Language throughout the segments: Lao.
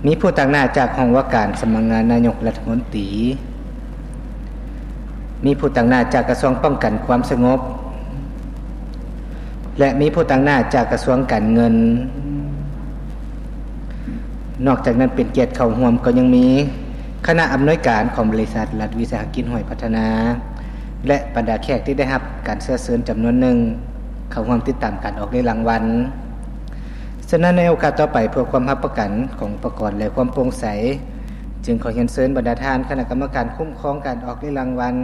ມີຜູ້ຕາງໜ້າຈາກຫ້ອງວ່າການສຳນັກງານນາຍົກລັດຖະມົນຕີ, ມີຜູ້ຕາງໜ້າຈາກກະຊວງປ້ອງກັນຄວາມສະຫງົບ ແລະ ມີຜູ້ຕາງໜ້າຈາກກະຊວງການເງິນ. ນອກຈາກນັ້ນເປັນກຽດເຂົ້າຮ່ວມກໍຍັງມີຄະນະອຳນວຍການຂອງບໍລິສັດລັດວິສາຫະກິດຫວຍພັດທະນາ ແລະ ບັນດາແຂກທີ່ໄດ້ຮັບການເຊື້ອເຊີນຈຳນວນໜຶ່ງ ເຂົ້າຮ່ວມຕິດຕາມການອອກເລກລາງວັນ. ສະນັ້ນໃນໂອກາດຕໍ່ໄປ ເພື່ອຄວາມຮັບປະກັນຂອງອຸປະກອນ ແລະ ຄວາມໂປ່ງໃສ, ຈຶ່ງຂໍຮຽນເຊີນບັນດາທ່ານຄະນະກຳມະການຄຸ້ມຄອງການອອກເລກລາງວັນ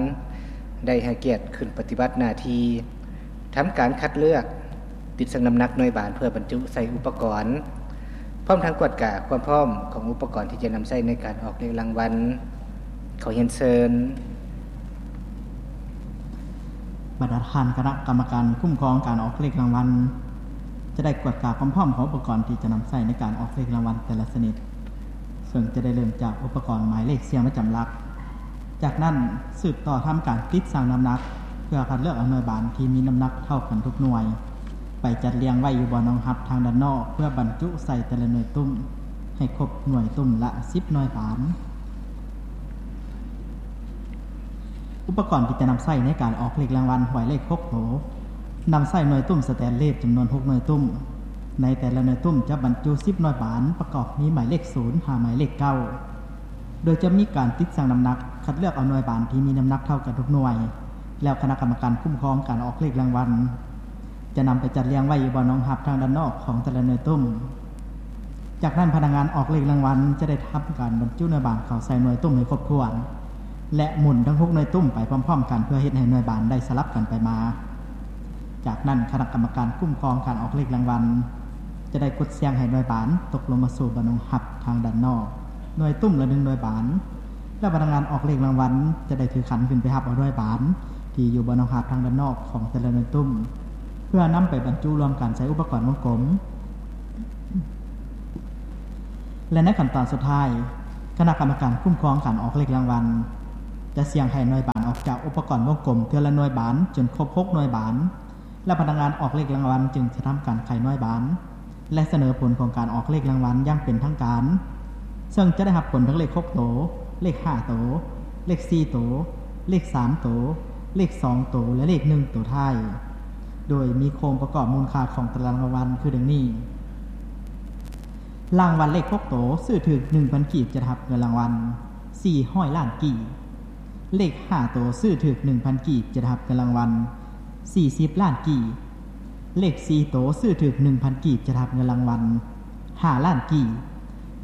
ໄດ້ໃຫ້ກຽດຂຶ້ນປະຕິບັດໜ້າທີ່ ທຳການຄັດເລືອກ, ຕິດຊັ່ງນ້ຳໜັກໜ່ວຍບານເພື່ອບັນຈຸໃສ່ອຸປະກອນ, ພ້ອມທັງກວດກາຄວາມພ້ອມຂອງອຸປະກອນທີ່ຈະນຳໃຊ້ໃນການອອກເລກລາງວັນ. ຂໍຮຽນເຊີນ. ບັນດາທ່ານຄະນະກຳມະການຄຸ້ມຄອງການອອກເລກລາງວັນ ຈະໄດ້ກວດກາຄວາມພ້ອມຂອງອຸປະກອນທີ່ຈະນຳໃຊ້ໃນການອອກເລກລາງວັນແຕ່ລະຊະນິດ, ເຊິ່ງຈະໄດ້ເລີ່ມຈາກອຸປະກອນໝາຍເລກສ່ຽງປະຈຳຫຼັກ. ຈາກນັ້ນສືບຕໍ່ທຳການຕິດຊັ່ງນ້ຳໜັກ ເພື່ອຄັດເລືອກເອົາໜ່ວຍບານທີ່ມີນ້ຳໜັກເທົ່າກັນທຸກໜ່ວຍ ໄປຈັດລຽງໄວ້ຢູ່ບ່ອນຮອງຮັບທາງດ້ານນອກ ເພື່ອບັນຈຸໃສ່ແຕ່ລະໜ່ວຍຕຸ້ມ ໃຫ້ຄົບໜ່ວຍຕຸ້ມລະສິບໜ່ວຍບານ. ອຸປະກອນທີ່ຈະນຳໃຊ້ໃນການອອກເລກລາງວັນຫວຍເລກຫົກໂຕ ນຳໃຊ້ໜ່ວຍຕຸ້ມສະແຕນເລດຈຳນວນຫົກໜ່ວຍຕຸ້ມ. ໃນແຕ່ລະໜ່ວຍຕຸ້ມຈະບັນຈຸສິບໜ່ວຍບານ ປະກອບມີໝາຍເລກສູນຫາໝາຍເລກເກົ້າ ໂດຍຈະມີການຕິດຊັ່ງນ້ຳໜັກ ຄັດເລືອກເອົາໜ່ວຍບານທີ່ມີນ້ຳໜັກເທົ່າກັນທຸກໜ່ວຍ ແລ້ວຄະນະກຳມະການຄຸ້ມຄອງການອອກເລກລາງວັນ ຈະນຳໄປຈັດລຽງໄວ້ຢູ່ບ່ອນຮອງຮັບທາງດ້ານນອກຂອງແຕ່ລະໜ່ວຍຕຸ້ມ. ຈາກນັ້ນພະນັກງານອອກເລກລາງວັນຈະໄດ້ທຳການບັນຈຸໜ່ວຍບານເຂົ້າໃສ່ໜ່ວຍຕຸ້ມໃຫ້ຄົບຖ້ວນ ແລະ ໝູນທັງຫົກໜ່ວຍຕຸ້ມໄປພ້ອມໆກັນ ເພື່ອເຮັດໃຫ້ໜ່ວຍບານໄດ້ສະຫຼັບກັນໄປມາ. ຈາກນັ້ນຄະນະກຳມະການຄຸ້ມຄອງການອອກເລກລາງວັນ ຈະໄດ້ກົດສ່ຽງໃຫ້ໜ່ວຍບານຕົກລົງມາສູ່ບ່ອນຮອງຮັບທາງດ້ານນອກ ໜ່ວຍຕຸ້ມລະໜຶ່ງໜ່ວຍບານ ແລະ ພະນັກງານອອກເລກລາງວັນຈະໄດ້ຖືຂັນຂຶ້ນໄປຮັບເອົາໜ່ວຍບານທີ່ຢູ່ບ່ອນຮອງຮັບທາງດ້ານນອກຂອງແຕ່ລະໜ່ວຍຕຸ້ມ ເພື່ອນຳໄປບັນຈຸລວມກັນໃສ່ອຸປະກອນວົງກົມ ແລະ ໃນຂັ້ນຕອນສຸດທ້າຍ ຄະນະກຳມະການຄຸ້ມຄອງການອອກເລກລາງວັນ ຈະສ່ຽງໃຫ້ໜ່ວຍບານອອກຈາກອຸປະກອນວົງກົມເທື່ອລະໜ່ວຍບານຈົນຄົບຫົກໜ່ວຍບານ ແລະ ພະນັກງານອອກເລກລາງວັນຈຶ່ງຈະທຳການໄຂໜ່ວຍບານ ແລະ ສະເໜີຜົນຂອງການອອກເລກລາງວັນຢ່າງເປັນທາງການ ເຊິ່ງຈະໄດ້ຮັບຜົນທັງເລກຫົກໂຕ, ເລກຫ້າໂຕ, ເລກສີ່ໂຕ, ເລກສາມໂຕ, ເລກສອງໂຕ ແລະ ເລກໜຶ່ງໂຕທ້າຍ ໂດຍມີໂຄງປະກອບມູນຄ່າຂອງຕາລາງລາງວັນຄືດັ່ງນີ້: ລາງວັນເລກຫົກໂຕ ຊື້ຖືກໜຶ່ງພັນກີບ ຈະໄດ້ຮັບເງິນລາງວັນສີ່ຮ້ອຍລ້ານກີບ. ເລກຫ້າໂຕ ຊື້ຖືກໜຶ່ງພັນກີບ ຈະໄດ້ຮັບເງິນລາງວັນສີ່ສິບລ້ານກີບ. ເລກສີ່ໂຕ ຊື້ຖືກໜຶ່ງພັນກີບ ຈະໄດ້ຮັບເງິນລາງວັນຫ້າລ້ານກີບ.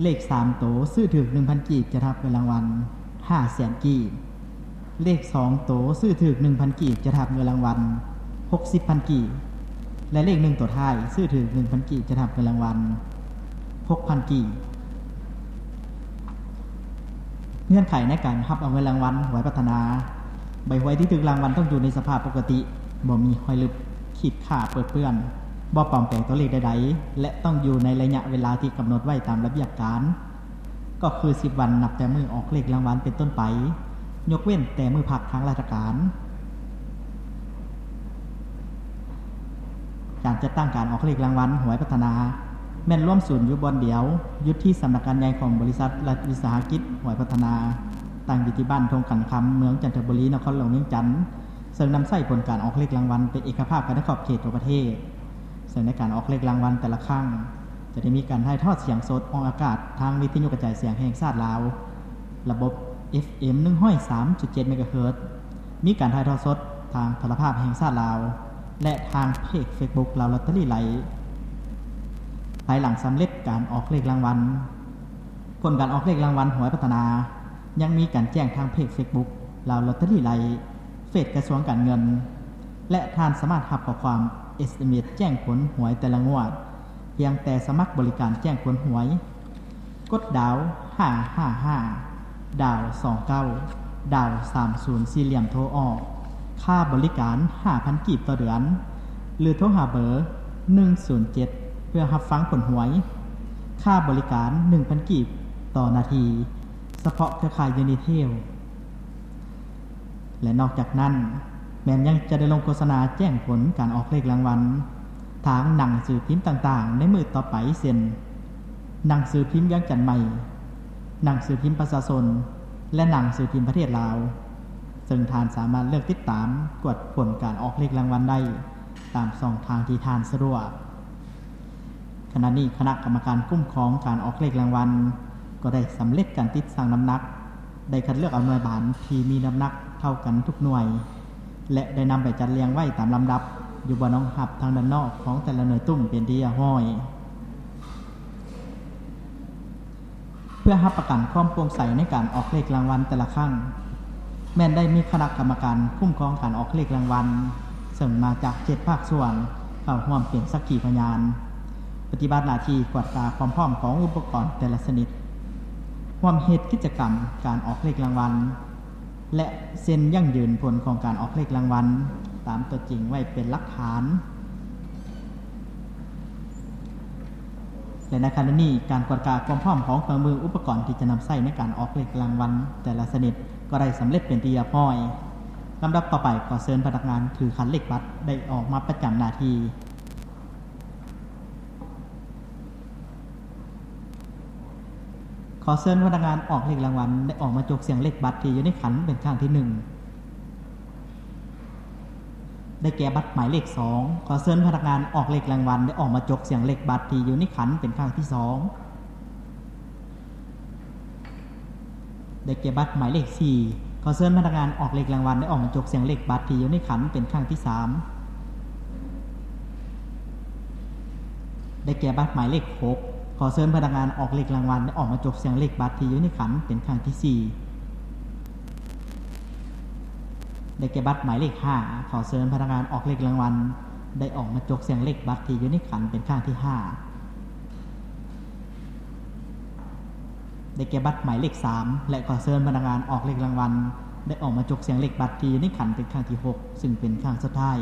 ເລກສາມໂຕ ຊື້ຖືກໜຶ່ງພັນກີບ ຈະໄດ້ຮັບເງິນລາງວັນຫ້າແສນກີບ. ເລກສອງໂຕ ຊື້ຖືກໜຶ່ງພັນກີບ ຈະໄດ້ຮັບເງິນລາງວັນຫົກສິບພັນກີບ ແລະ ເລກໜຶ່ງໂຕທ້າຍ ຊື້ຖືກໜຶ່ງພັນກີບ ຈະໄດ້ຮັບເງິນລາງວັນຫົກພັນກີບ. ເງື່ອນໄຂໃນການຮັບເອົາເງິນລາງວັນຫວຍພັດທະນາ ໃບຫວຍທີ່ຖືກລາງວັນຕ້ອງຢູ່ໃນສະພາບປົກກະຕິ, ບໍ່ມີຮອຍລຶບ, ຂີດຂ້າເປິເປື້ອນ, ບໍ່ປອມແປງຕົວເລກໃດໆ ແລະ ຕ້ອງຢູ່ໃນໄລຍະເວລາທີ່ກຳນົດໄວ້ຕາມລະບຽບການ. ກໍຄືສິບວັນນັບແຕ່ມື້ອອກເລກລາງວັນເປັນຕົ້ນໄປ, ຍົກເວັ້ນແຕ່ມື້ພັກທາງລາຊະການ. ການຈັດຕັ້ງການອອກເລກລາງວັນຫວຍພັດທະນາ ແມ່ນລວມສູນຢູ່ບ່ອນດຽວ, ຢູ່ທີ່ສຳນັກງານໃຫຍ່ຂອງບໍລິສັດລັດວິສາຫະກິດຫວຍພັດທະນາ, ຕັ້ງຢູ່ທີ່ບ້ານທົ່ງຂັນຄຳ, ເມືອງຈັນທະບູລີ, ນະຄອນຫຼວງວຽງຈັນ, ເຊິ່ງນຳໃຊ້ຜົນການອອກເລກລາງວັນເປັນເອກະພາບກັນໃນຂອບເຂດທົ່ວປະເທດ. ເຊິ່ງໃນການອອກເລກລາງວັນແຕ່ລະຄັ້ງ ຈະໄດ້ມີການຖ່າຍທອດສຽງສົດອອກອາກາດທາງວິທະຍຸກະຈາຍສຽງແຫ່ງຊາດລາວ ລະບົບ ເອັຟເອັມ ໜຶ່ງຮ້ອຍສາມຈຸດເຈັດ ເມກາເຮີດ, ມີການຖ່າຍທອດສົດທາງໂທລະພາບແຫ່ງຊາດລາວ ແລະ ທາງເພຈເຟສບຸກລາວລອດເຕີຣີໄລ. ພາຍຫຼັງສຳເລັດການອອກເລກລາງວັນ, ຜົນການອອກເລກລາງວັນຫວຍພັດທະນາ ຍັງມີການແຈ້ງທາງເພຈເຟສບຸກລາວລອດເຕີຣີໄລ, ເຟສກະຊວງການເງິນ ແລະ ທ່ານສາມາດຮັບຂໍ້ຄວາມ ເອສເອັມເອສ ແຈ້ງຜົນຫວຍແຕ່ລະງວດ ພຽງແຕ່ສະໝັກບໍລິການແຈ້ງຜົນຫວຍ, ກົດດາວ ຫ້າຫ້າຫ້າ ດາວ ສອງເກົ້າ ດາວ ສາມສູນ ສີ່ຫຼ່ຽມໂທອອກ, ຄ່າບໍລິການ ຫ້າພັນກີບຕໍ່ເດືອນ ຫຼື ໂທຫາເບີ ໜຶ່ງສູນເຈັດ ເພື່ອຮັບຟັງຜົນຫວຍ, ຄ່າບໍລິການ ໜຶ່ງພັນກີບຕໍ່ນາທີ ສະເພາະເຄືອຂ່າຍ Unitel. ແລະ ນອກຈາກນັ້ນ ແມ່ນຍັງຈະໄດ້ລົງໂຄສະນາແຈ້ງຜົນການອອກເລກລາງວັນ ທາງໜັງສືພິມຕ່າງໆໃນມື້ຕໍ່ໄປ ເຊັ່ນ: ໜັງສືພິມວຽງຈັນໃໝ່, ໜັງສືພິມປະຊາຊົນ ແລະ ໜັງສືພິມປະເທດລາວ, ເຊິ່ງທ່ານສາມາດເລືອກຕິດຕາມກວດຜົນການອອກເລກລາງວັນໄດ້ຕາມຊ່ອງທາງທີ່ທ່ານສະດວກ. ຂະນະນີ້ຄະນະກຳມະການຄຸ້ມຄອງການອອກເລກລາງວັນກໍໄດ້ສຳເລັດການຕິດຊັ່ງນ້ຳໜັກ, ໄດ້ຄັດເລືອກເອົາໜ່ວຍບານທີ່ມີນ້ຳໜັກເທົ່າກັນທຸກໜ່ວຍ ແລະ ໄດ້ນຳໄປຈັດລຽງໄວ້ຕາມລຳດັບຢູ່ບ່ອນຮອງຮັບທາງດ້ານນອກຂອງແຕ່ລະໜ່ວຍຕຸ້ມເປັນທີ່ຮຽບຮ້ອຍ. ເພື່ອຮັບປະກັນຄວາມໂປ່ງໃສໃນການອອກເລກລາງວັນແຕ່ລະຄັ້ງ, ແມ່ນໄດ້ມີຄະນະກຳມະການຄຸ້ມຄອງການອອກເລກລາງວັນ ເຊິ່ງມາຈາກເຈັດພາກສ່ວນເຂົ້າຮ່ວມເປັນສັກຂີພະຍານ, ປະຕິບັດໜ້າທີ່ກວດກາຄວາມພ້ອມຂອງອຸປະກອນແຕ່ລະຊະນິດ, ຮ່ວມເຮັດກິດຈະກຳການອອກເລກລາງວັນ ແລະ ເຊັນຢັ້ງຢືນຜົນຂອງການອອກເລກລາງວັນຕາມຕົວຈິງໄວ້ເປັນຫຼັກຖານ. ແລະ ໃນຂະນະນີ້ ການກວດກາຄວາມພ້ອມຂອງເຄື່ອງມືອຸປະກອນທີ່ຈະນຳໃຊ້ໃນການອອກເລກລາງວັນແຕ່ລະຊະນິດກໍໄດ້ສຳເລັດເປັນທີ່ຮຽບຮ້ອຍ. ລຳດັບຕໍ່ໄປ ຂໍເຊີນພະນັກງານຖືຂັນເລກບັດໄດ້ອອກມາປະຈຳໜ້າທີ່. ຂໍເຊີນພະນັກງານອອກເລກລາງວັນໄດ້ອອກມາຈົກສ່ຽງເລກບັດທີ່ຢູ່ໃນຂັນເປັນຄັ້ງທີໜຶ່ງ. ໄດ້ແກ່ບັດໝາຍເລກສອງ. ຂໍເຊີນພະນັກງານອອກເລກລາງວັນໄດ້ອອກມາຈົກສ່ຽງເລກບັດທີ່ຢູ່ໃນຂັນເປັນຄັ້ງທີສອງ. ໄດ້ແກ່ບັດໝາຍເລກສີ່. ຂໍເຊີນພະນັກງານອອກເລກລາງວັນໄດ້ອອກມາຈົກສ່ຽງເລກບັດທີ່ຢູ່ໃນຂັນເປັນຄັ້ງທີສາມ. ໄດ້ແກ່ບັດໝາຍເລກຫົກ. ຂໍເຊີນພະນັກງານອອກເລກລາງວັນໄດ້ອອກມາຈົກສ່ຽງເລກບັດທີ່ຢູ່ໃນຂັນເປັນຄັ້ງທີສີ່. ໄດ້ແກ່ບັດໝາຍເລກຫ້າ. ຂໍເຊີນພະນັກງານອອກເລກລາງວັນໄດ້ອອກມາຈົກສ່ຽງເລກບັດທີ່ຢູ່ໃນຂັນເປັນຄັ້ງທີຫ້າ. ໄດ້ແກ່ບັດໝາຍເລກສາມ ແລະ ຂໍເຊີນພະນັກງານອອກເລກລາງວັນໄດ້ອອກມາຈົກສ່ຽງເລກບັດທີ່ຢູ່ໃນຂັນເປັນຄັ້ງທີຫົກ ຊຶ່ງເປັນຄັ້ງສຸດທ້າຍ.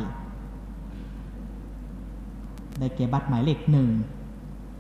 ໄດ້ແກ່ບັດໝາຍເລກໜຶ່ງ.